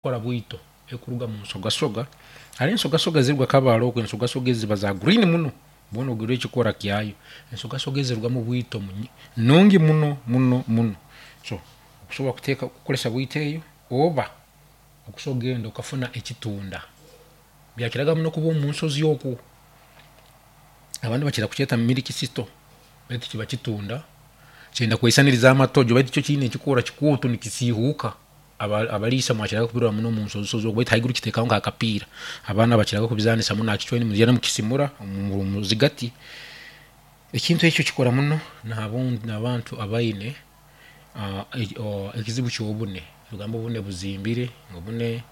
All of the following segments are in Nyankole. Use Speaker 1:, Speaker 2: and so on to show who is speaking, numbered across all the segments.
Speaker 1: Kukora bwito ekuruga mu nsogasoga. Hariho ensogasoga eziruga Kabale okwo, ensogasoga ezi ziba za green muno mbwenu ogirora ekikora kyayo. Ensogasoga ezi zirugamu bwito nungi muno muno muno. So okusobora kuteeka kukoresa bwito eyo oba okusobora kugenda okafuna ekitunda. Byakiraga muno kuba omu nsozi okwo. Abandi bakira kukyeta milk thistle beitu kiba kitunda kyenda kweisaniriza amatojo beitu kyo kiine ekikoora kikooto nikisiihuuka. Abariisa mwakiraga kubirora muno omu nsozisozi okwo beitu haiguru kiteekaho nk'akapiira. Abaana bakiraga kubizanisa muno aha kicwani nimugyenda mukisimura omu zigati. Ekintu ekyo kikora muno n'abantu abaine ekizibu ky'obune. Nibagamba obune buzimbire, obune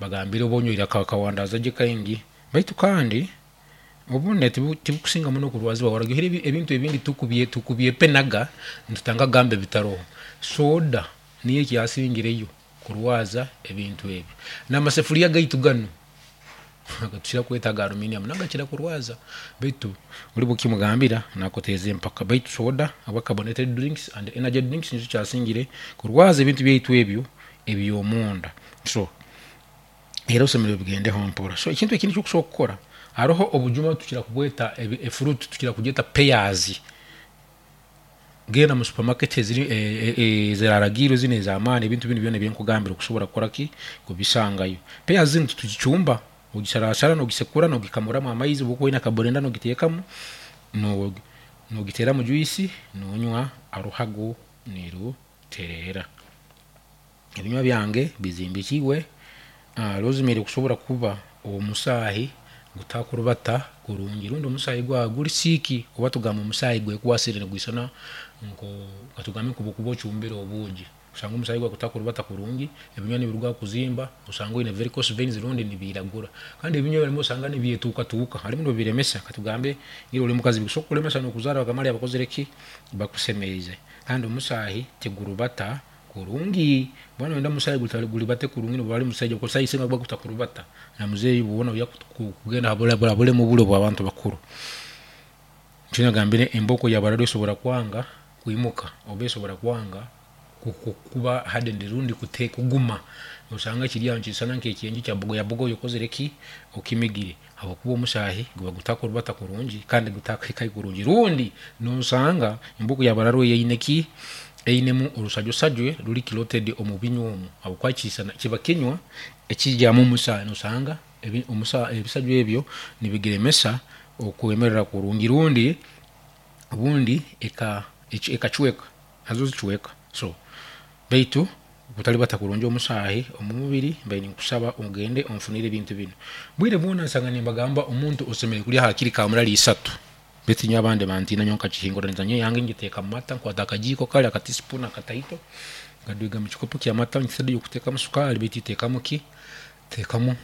Speaker 1: bagambire oba onywire akawandaza gye kaingi beitu kandi obune tibukusinga muno kurwazibwa oraihure ebintu ebindi tukubyepenaga nitutandika kugamba ebitaroho. Soda niyo ekyasingireyo kurwaza ebintu ebi. N'amasefuriya gaitu ganu agatukira kweta aga aluminium nago gakira kurwaza beitu ori bwokimugambira nakuteeza empaka beitu soda oba carbonated drinks and energy drinks nikyo kyasingire kurwaza ebintu byaitu ebyo eby'omunda so era osemeriire obigendeho mpora. So ekintu ekindi ekyokusobola kukora haroho obujuma tukira kubweta efruit tukira kugyeta pairs. Genda omu supamaketi eziri eziraragiirwe zinu ez'amaani ebintu binu byona ebinkugambira okusobora kukora ki? Kubisangayo. Peya zinu titugicumba, ogisarasara n'ogisekura n'ogikamuramu amaizi obu okuba oine akaburenda n'ogiteekamu, n'ogiteeramu jwisi n'onywa oruhago nirutereera. Ebinywa byange bizimbikiibwe rosemary kusobora kuba omusaahi gutakurubata kurungi rundi omusaahi gwawe guri siiki oba tugambe omusaahi gwekwasire nigwisana nko katugambe nkobu okuba ocumbire obuugi osanga omusaahi gwawe gutakurubata kurungi, ebinywa nibiruga kuzimba osanga oine varicose veins rundi nibiiragura. Kandi ebinywa ebimwe osanga nibyetuukatuuka harimu nobiremesa katugambe iwe ori mukazi bikusobora kukuremesa nokuzaara bakamara bakozire ki? Bakusemeize. Kandi omusaahi tigurubata Kurungi. Mbwenu noyenda omushaija gutari guribate kurungi nobu ari mushaija okozesa eisinga kuba gutakuribata na muzeeyi bwona oija kugenda aha buremu buri obw'abantu bakuru. Nikyo nagambire embooko ya barara esobora kwanga kwimuka oba esobora kwanga kuba hardened rundi kuguma osanga kiri aho nikisana nk'ekyenju kya bogoyabogoya okozire ki? Okimigire ahabw'okuba omushahi guba gutakuribata kurungi kandi gutakuhikayo kurungi rundi nosanga embooko ya barara eyo eine ki? Einemu orusajwesajwe ruri clotted omu binywa omu ahabw'okuba kisana kiba kinywa ekigyamu omusaayi nosanga ebisajwa ebyo nibigiremesa okwemerera kurungi rundi obundi ekacweka nazo zicweka so beitu kutaribata kurungi omusaahi omu mubiri mbaire ninkusaba ogende onfunire ebintu binu. Bwire bwona nsanga nimbagamba omuntu osemeriire kurya hakiri kamurari isatu. Beitu nyowe abandi bantiina nyowe nkakihinguraniza nyowe eyange ngiteeka mu mata nkwata akagiiko kare aka teaspoon akataito nkadwiga mu kikopo ky'amata instead y'okuteekamu sukaari beitu iteekamu ki? Teekamu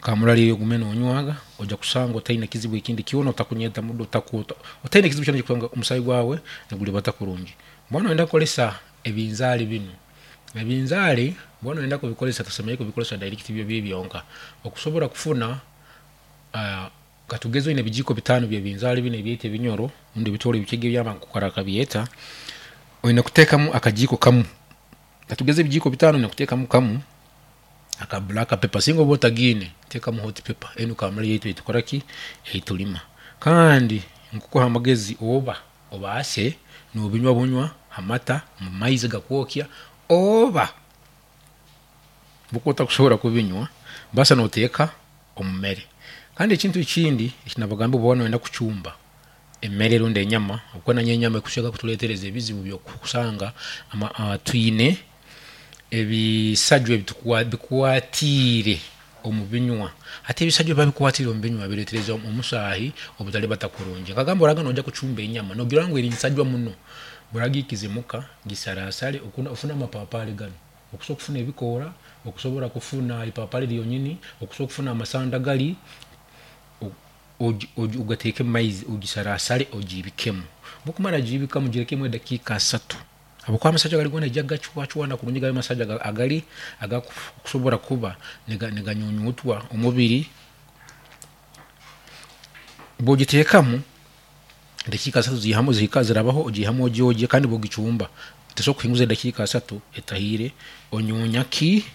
Speaker 1: kamurari eyo ogume nonywaga oija kusanga otaine kizibu ekindi kyona otakunyeta mudo otaine kizibu kyona ekirikusanga omusaayi gwawe niguribata kurungi. Mbwenu noyenda kukoresa ebinzaari binu, ebinzaari mbwenu noyenda kubikoresa tosemeriire kubikoresa direct byo biri byonka okusobora kufuna Katugeze oine ebijiiko bitaano by'ebinzaali binu ebyaitu ebinyoro rundi ebitooro ebikiga eby'abantu bakabyeta, oine kuteekamu akajiiko kamu. Katugeze ebijiiko bitaano oine kuteekamu kamu aka black pepper singa oba otagiine teekamu hot pepper enu kamulari yaitu eitukora ki? Eitulima. Kandi nkukuha amagezi oba obaase nobinywa bunywa ha mata, mu maizi gakwokya oba obu otakusobora kubinywa baasa noteeka omu mere. Kandi ekintu ekindi eki nabagambira obu oba noyenda kucumba emere rundi enyama, ahabw'okuba nayo enyama ekusinga kuturetereza ebizibu by'okusanga twine ebisajwa ebikwatiire omu binywa. Hati ebisajwa ebiba bikwatiire omu binywa biretereza omusaahi obutaribata kurungi. Nkagamba oraga noija kucumba enyama nogira ngu eri nsajwa muno, oragiikize muka, gisarasare ofune amapapari ganu. Okusobora kufuna ebikoora, okusobora kufuna ipapari ryonyini, okusobora kufuna amasanda gari, ogateeke omu maizi ogisarasare ogiibikemu. Obu okumara kugiibikamu ogirekemu edakiika asatu ahabw'okuba amasajwa gari goona naija kugacwacwana kurungi gabe amasajwa agari agakusobora kuba niganyunyutwa omubiri. Obu ogiteekamu edakiika asatu zihamu zihika zirabaho ogiihamu ogyogye kandi bw'ogicumba tosobola kuhinguza edakiika asatu etahiire onyunya ki?